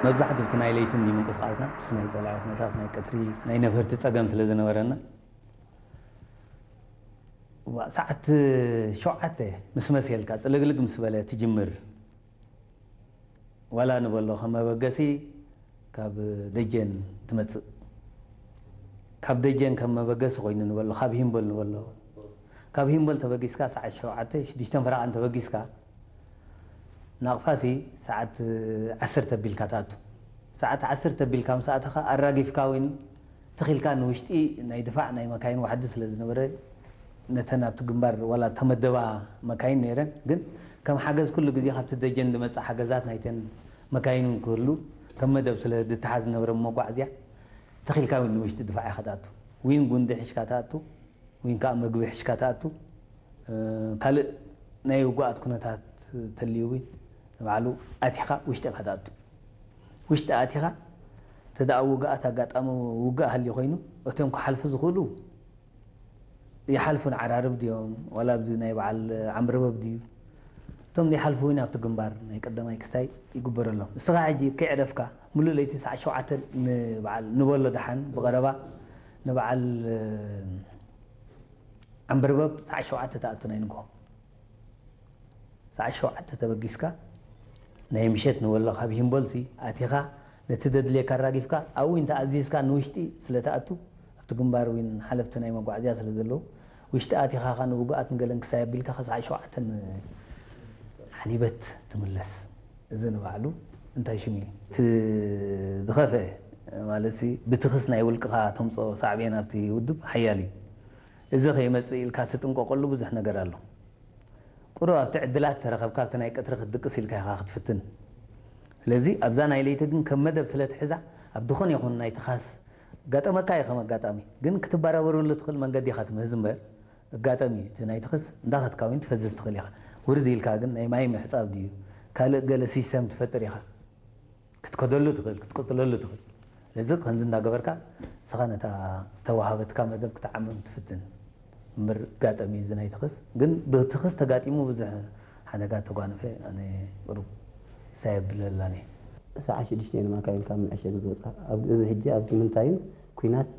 መብዛሕትኡ እቲ ናይ ለይቲ እንዲ ምንቅስቃስና ምስ ናይ ጸላኢ ኩነታት ናይ ቀትሪ ናይ ነፈርቲ ጸገም ስለ ዝነበረና፣ ዋ- ሰዓት ሸውዓተ ምስ መሰልካ ጽልግልግ ምስ በለ ትጅምር። ዋላ ንበሎ ከም መበገሲ ካብ ደጀን ትመጽእ። ካብ ደጀን ከም መበገሲ ኮይኑ ንበሎ፣ ካብ ሂምቦል ንበሎ። ካብ ሂምቦል ተበጊስካ ሰዓት ሸውዓተ ሽዱሽተ ፈረቓ እንተበጊስካ፣ ናቕፋሲ ሰዓት ዓሰርተ ቢልካ ትኣቱ። ሰዓት ዓሰርተ ቢልካ ምስ ኣተኻ ኣራጊፍካ እውን ትኺልካ ንውሽጢ ናይ ድፋዕ ናይ መካይን ዋሕዲ ስለ ዝነበረ፣ ነተን ኣብቲ ግንባር ዋላ ተመደባ መካይን ነይረን፣ ግን ከም ሓገዝ ኩሉ ግዜ ካብቲ ደጀን ዝመጽእ ሓገዛት ናይተን መካይን እውን ክህሉ ከም መደብ ስለ ዝተሓዝ ዝነበረ መጓዕዝያ፣ ትኺልካ እውን ንውሽጢ ድፋዕ ኢኻ ትኣቱ። ዊን ጉንዲ ሒዝካ ትኣቱ፣ ዊን ከዓ መግቢ ሒዝካ ትኣቱ። እ፣ ካልእ ናይ ውጉኣት ኩነታት ተልዩ እውን ንባዕሉ ኣቲኻ ውሽጢ ኢኻ ትኣቱ። ውሽጢ ኣቲኻ እንተ ደኣ ውግኣት ኣጋጣሚ ውግእ ሃልዩ ኮይኑ፣ እቶም ክሓልፉ ዝኽእሉ ይሓልፉ። ንዓራርብ ድዮም ዋላ ኣብዚ ናይ በዓል ዓምረበብ ድዩ? እቶም ዘይሓልፉ እውን ኣብቲ ግንባር ናይ ቀዳማይ ክስታይ ይግበረሎም። እስኻ ሕጂ ከይዕረፍካ ምሉእ ለይቲ ሰዓት ሸውዓተ ንበዓል ንበሎ ደሓን ብቐረባ ንበዓል ዓምበርበብ ሰዓት ሸውዓተ ትኣቱ ናይ ንግሆ። ሰዓት ሸውዓተ ተበጊስካ ናይ ምሸት ንበሎ ካብ ሂምቦልሲ ኣቲኻ ነቲ ዘድልየካ ኣራጊፍካ ኣብኡ እንተ ኣዚዝካ ንውሽጢ ስለ ትኣቱ ኣብቲ ግንባር እውን ሓለፍቲ ናይ መጓዕዝያ ስለ ዘለዉ ውሽጢ ኣቲኻ ኸኣ ንውጉኣት ንገለን ክሳይ ኣቢልካ ኸ ሰዓት ሸውዓተ ሓሊበት ትምለስ። እዚ ንባዕሉ እንታይ ሽም እዩ? እቲ ዝኸፍአ ማለትሲ ብትኽስ ናይ ውልቅኻ ተምፅኦ ሳዕቤን ኣብቲ ውድብ ሓያል እዩ። እዚ ከይመጽእ ኢልካ ትጥንቀቐሉ ብዙሕ ነገር ኣሎ። ቁሩብ ኣብቲ ዕድላት ተረኸብካ ኣብቲ ናይ ቀትሪ ክትድቅስ ኢልካ ኢኻ ክትፍትን። ስለዚ ኣብዛ ናይ ለይቲ ግን ከም መደብ ስለ ትሕዛ ኣብ ዝኾነ ይኹን ናይ ትኻስ ጋጠመካ እዩ ከም ኣጋጣሚ ግን ክትበራበረሉ ትኽእል መንገዲ ኢኻ ትምህዝ እምበር ኣጋጠሚ እዩ። እቲ ናይ ትኽስ እንዳኸድካ እውን ትፈዝዝ ትኽእል ኢኻ። ውርድ ኢልካ ግን ናይ ማይ ምሕጻብ ድዩ ካልእ ገለ ሲስተም ትፈጥር ኢኻ። ክትከደሉ ትኽእል ክትቅጽለሉ ትኽእል። ስለዚ ከምዚ እንዳገበርካ ንስኻ ነታ ተዋሃበትካ መደብ ክትዓምም ትፍትን እምበር ኣጋጠሚ እዩ እዚ ናይ ትኽስ ግን ብትኽስ ተጋጢሙ ብዙሕ ሓደጋ ተጓንፈ ኣነ ቁሩብ ሳይ ኣብለላኒ። ሰዓት ሽዱሽተ ንማካይን ካብ መዐሸጊ ዝወፃ ኣብዚ ሕጂ ኣብዚ ምንታይን ኩናት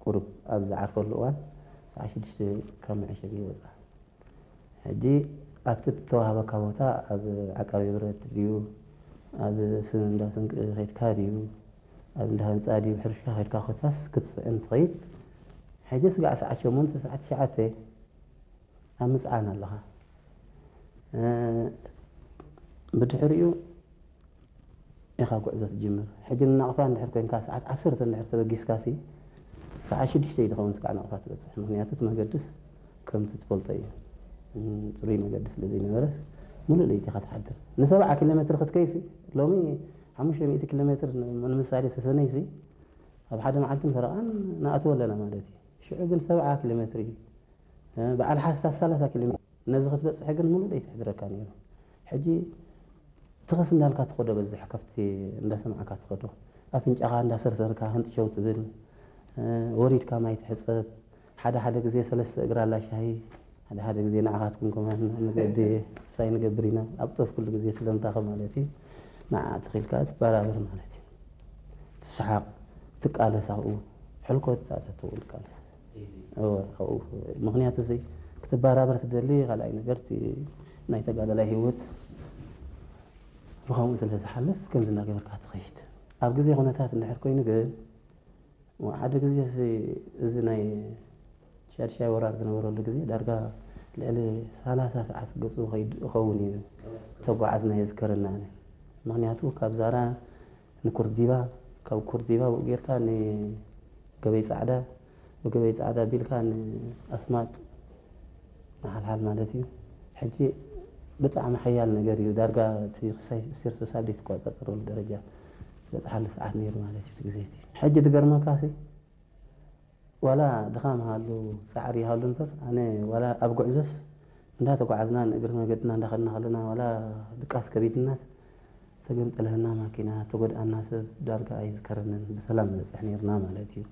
ቁሩብ ኣብ ዝዓርፈሉ እዋን ሰዓት ሽዱሽተ ካብ መዐሸጊ ይወፃ። ሕጂ ኣብቲ እተዋህበካ ቦታ ኣብ ዓቃቢ ብረት ድዩ ኣብ እንዳ ስንቂ ከድካ ድዩ ኣብ እንዳ ህንፃ ድዩ ሕርሻ ከድካ ኮታስ ክትፅዕን ትኸይድ። ሕጂ ስጋዕ ሰዓት ሸሞንተ ሰዓት ትሽዓተ ኣብ ምፅዓን ኣለኻ። ብድሕሪኡ ኢኻ ጉዕዞ ትጅምር። ሕጂ ንናቕፋ እንድሕር ኮይንካ ሰዓት ዓሰርተ እንድሕር ተበጊስካ ሲ ሰዓት ሽዱሽተ እዩ ዝኸውን ስጋዕ ናቕፋ ትበፅሕ። ምክንያቱ እቲ መገድስ ከምቲ ትፈልጦ እዩ። ፅሩይ መገዲ ስለ ዘይነበረስ ሙሉእ ለይቲ ኢኻ ትሓድር። ንሰብዓ ኪሎ ሜትር ክትከይሲ ሎሚ ሓሙሽተ ሚእቲ ኪሎ ሜትር ንምሳሌ ተሰነይሲ ኣብ ሓደ መዓልትን ፈረቓን ንኣትዎ ኣለና ማለት እዩ። ሽዑ ግን ሰብዓ ኪሎ ሜትር እዩ። በዓል ሓስታት ሰላሳ ኪሎ ሜትር ነዚ ክትበፅሕ ግን ሙሉእ ለይቲ ይሕድረካ ነይሩ። ሕጂ ትኽስ እንዳልካ ትኸዶ በዝሕ ከፍቲ እንዳሰማዕካ ትኸዶ ኣፍንጫኻ እንዳሰርሰርካ ህንጥሸው ትብል። ወሪድካ ማይ ትሕፀብ። ሓደ ሓደ ግዜ ሰለስተ እግራ ኣላ ሻሂ ሓደ ሓደ ግዜ ንዓኻትኩም ከማን መገዲ ሳይ ንገብር ኢና ኣብ ጦፍ ኩሉ ግዜ ስለምታኸ ማለት እዩ። ንዓ ትኽኢልካ ትበራበር ማለት እዩ። ትስሓቕ ትቃለስ ኣብኡ ሕልኮት ኣተትው ትቃለስ። ምክንያቱ እዚ ክትበራበር ትደሊ ካልኣይ ነገር እቲ ናይ ተጋደላይ ህይወት ብኸምኡ ስለ ዝሓልፍ ከምዚ እናገበርካ ትኸይድ። ኣብ ግዜ ኩነታት እንድሕር ኮይኑ ግን ሓደ ግዜ እዚ ናይ ሻድሻይ ወራር ዝነበረሉ ግዜ ዳርጋ ልዕሊ ሰላሳ ሰዓት ገፁ ይኸውን እዩ ተጓዓዝና የዝከረና። ምክንያቱ ካብ ዛራ ንኩርዲባ ካብ ኩርዲባ ብኡ ጌርካ ንገበይ ፃዕዳ ብገበይ ፃዕዳ ቢልካ ንኣስማጥ ንሓልሓል ማለት እዩ። ሕጂ ብጣዕሚ ሓያል ነገር እዩ። ዳርጋ እቲ ክሳይ ስቴርሶ ሳልዲ ትቆፃፀረሉ ደረጃ ዝበፅሓሉ ሰዓት ነይሩ ማለት እዩ። እቲ ግዜ እቲ ሕጂ ትገርመካ ሲ ዋላ ድኻም ሃሉ ፃዕሪ ይሃሉ እምበር ኣነ ዋላ ኣብ ጉዕዞስ እንዳተጓዓዝና ንእግሪ መገድና እንዳኸድና ከለና ዋላ ድቃስ ከቢድናስ ተገምጠለህና ማኪና ተጎድኣና ሰብ ዳርጋ ኣይዝከረንን ብሰላም ንበፅሕ ነይርና ማለት እዩ።